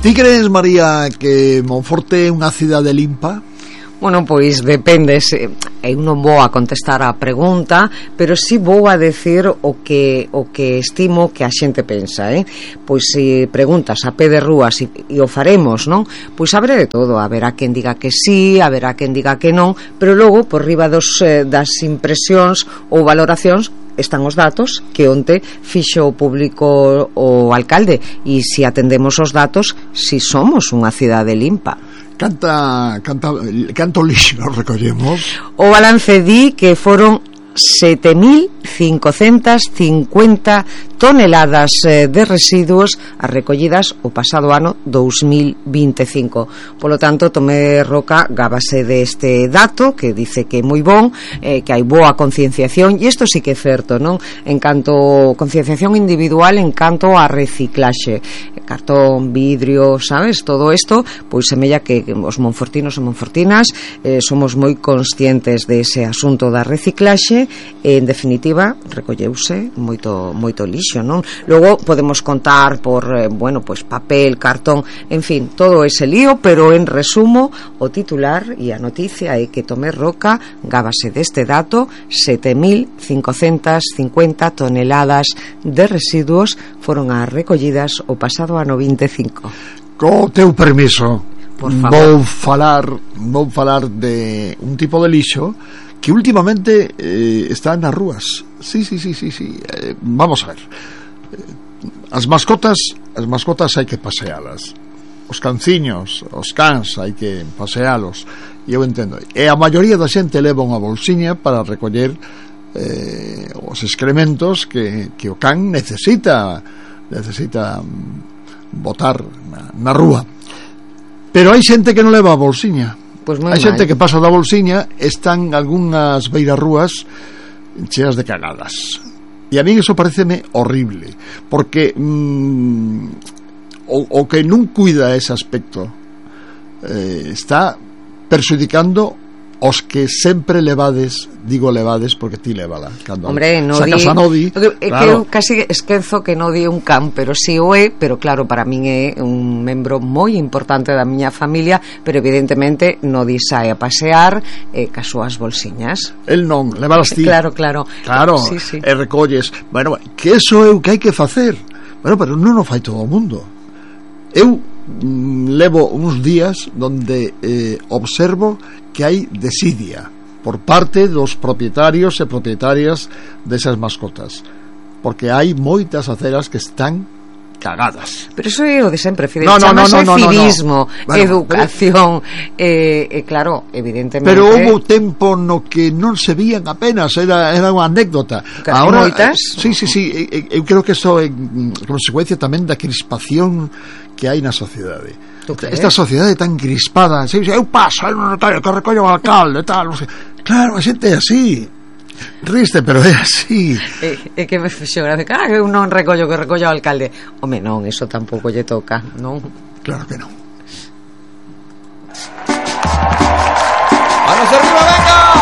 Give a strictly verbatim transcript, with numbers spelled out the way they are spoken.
Ti crees, María, que Monforte é unha cidade limpa? Bueno, pois depende, se, eu non vou a contestar a pregunta, pero si vou a decir o que o que estimo que a xente pensa, eh? Pois se preguntas a pé de rúas e, e o faremos, non? Pois haberá de todo, haberá quen diga que sí, haberá quen diga que non, pero logo por riba dos, eh, das impresións ou valoracións están os datos que onte fixo o público o alcalde, e se atendemos os datos, si somos unha cidade limpa. Canta, canta, canto lixo recollemos? O balance di que foron sete mil cincocentas cincuenta toneladas de residuos as recollidas o pasado ano dous mil vinte e cinco. Polo tanto, Tomé Roca gábase deste dato que dice que é moi bon, eh, que hai boa concienciación, e isto sí que é certo, non? En canto concienciación individual, en canto a reciclaxe, cartón, vidrio, sabes, todo isto, pois semella que os monfortinos e monfortinas eh, somos moi conscientes dese asunto da reciclaxe. En definitiva, recolleuse moito moito lixo, non? Logo podemos contar por, eh, bueno, pois papel, cartón, en fin, todo ese lío, pero en resumo, o titular e a noticia é que Tomé Roca gábase deste dato, sete mil cincocentas cincuenta toneladas de residuos foron as recollidas o pasado ano vinte e cinco. Co teu permiso, por favor, vou falar, vou falar de un tipo de lixo que últimamente eh, está nas rúas. Sí, sí, sí, sí, sí. Eh, vamos a ver. As mascotas, as mascotas hai que pasealas. Os canciños, os cans hai que pasealos. E eu entendo. E a maioría da xente leva unha bolsiña para recoller eh, os excrementos que, que o can necesita necesita botar na, na rúa. Pero hai xente que non leva a bolsiña. Pues hai xente que pasa da bolsiña, están algunhas beirarrúas cheas de cagadas, e a mí eso pareceme horrible, porque mm, o, o que non cuida ese aspecto eh, está perxudicando os que sempre levades, digo levades porque ti levala cando hombre, no sacas di, a nodi, é claro. Que eu casi esquezo que non di un can, pero si o é, pero claro, para min é un membro moi importante da miña familia, pero evidentemente nodi sae a pasear eh, cas súas bolsiñas. El non, levalas ti. Claro, claro. Claro, sí, sí. E recolles. Bueno, que eso é o que hai que facer. Bueno, pero non o fai todo o mundo. Eu mm, levo uns días donde eh, observo que hai desidia por parte dos propietarios e propietarias desas mascotas, porque hai moitas aceras que están cagadas. Pero eso é o de sempre, Fidel. No, no, no, no, no, civismo, no, no. Bueno, educación, e eh, eh, claro, evidentemente. Pero houve tempo no que non se vían apenas, era, era unha anécdota. Ahora, moitas? Sí, sí, sí, eu creo que eso é consecuencia tamén da crispación que hai na sociedade. Esta sociedade tan crispada, sí, eu paso, hai un notario que recollo o alcalde, tal, non sei. Claro, a xente é así. Triste, pero é así. É, é que me fixo grave, ah, eu non recollo que recollo o alcalde. Home, non, eso tampouco lle toca, non? Claro que non.